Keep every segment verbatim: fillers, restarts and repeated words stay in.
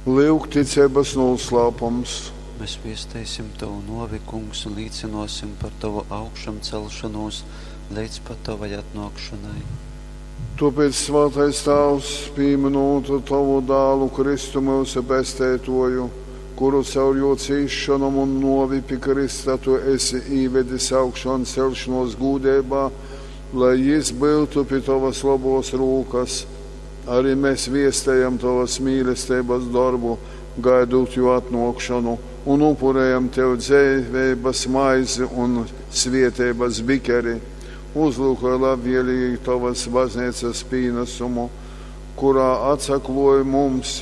Lyuk ticeibas nūslāpums. Mēs viesteisim tovu nōvi, Kungs, un līcynōsim par tovu augšamceļšonūs leidz pat tovai atnōkšonai. Tōpēc, svātais Tāvs, pīmynūt tovu dālu Kristu myusu Pesteitōju, kuru caur jō cīsšonom un nōvi pi krysta tu esi īvedis augšanceļšonōs gūdeibā, lai jys byutu pi tovas lobōs rūkas, arī mēs viestejam tovas mīlesteibas dorbu, gaidūt jō atnōkšonu, un upurējam tev dzeiveibas maizi un svietības bikeri. Uzlūkoj labvēlīgi tovas bazneicas pīnasumu, kurā atsaklōj mums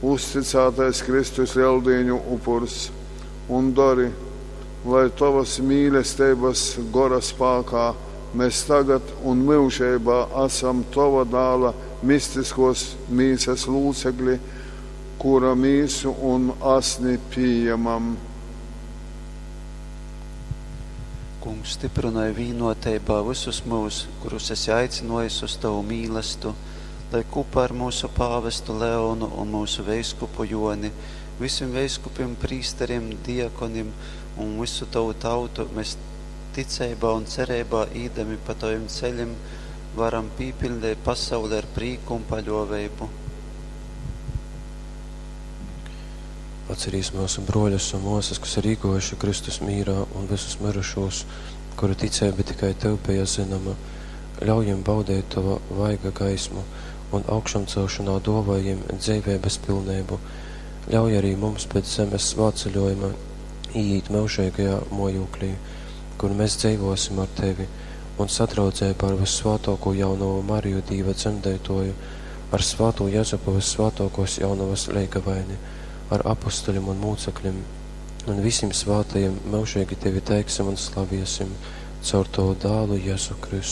uzticātais Kristus Leldīņu upurs, un dori, lai tovas mīlesteibas gora spākā mēs tagad un myužeibā esam tova dāla mistiskos mīsas lūcekļi, kura mīsu un asni pījemam. Kungs, stiprynoj vīnoteibā vysus myus, kurus esi aicinōjis uz tovu mīlestu, lai kūpā ar myusu pāvestu Leonu un myusu veiskupu Jōni, vysim veiskupim, prīsterim, diakonim un vysu tovu tautu mēs ticeibā un cereibā īdami pa tovim ceļim varam pīpiļdeit pasauli ar prīku un paļōveibu. Atcerīs myusu bruoļus un muosys, kas ir īguojuši Kristus mīrā, un vysus myrušūs, kuru ticeiba tikai Tev beja zynoma. Ļauj jim baudeit Tova vaiga gaismu un augšamcelšonā duovoj jim dzeiveibys pilneibu. Ļauj arī mums pēc zemes svātceļuojuma īīt myužeigajā muojūklī, kur mēs dzeivuosim ar Tevi un sadraudzeibā ar vyssvātuokū jaunovu Mariju Dīva dzemdeituoju, ar svātū Jezupu vyssvātuokuos jaunovas leigavaini, ar apustuļim un mūcekļim un vysim svātajim myužeigi Tevi teiksim un slaviesim caur Tovu dālu Jezu Kristu.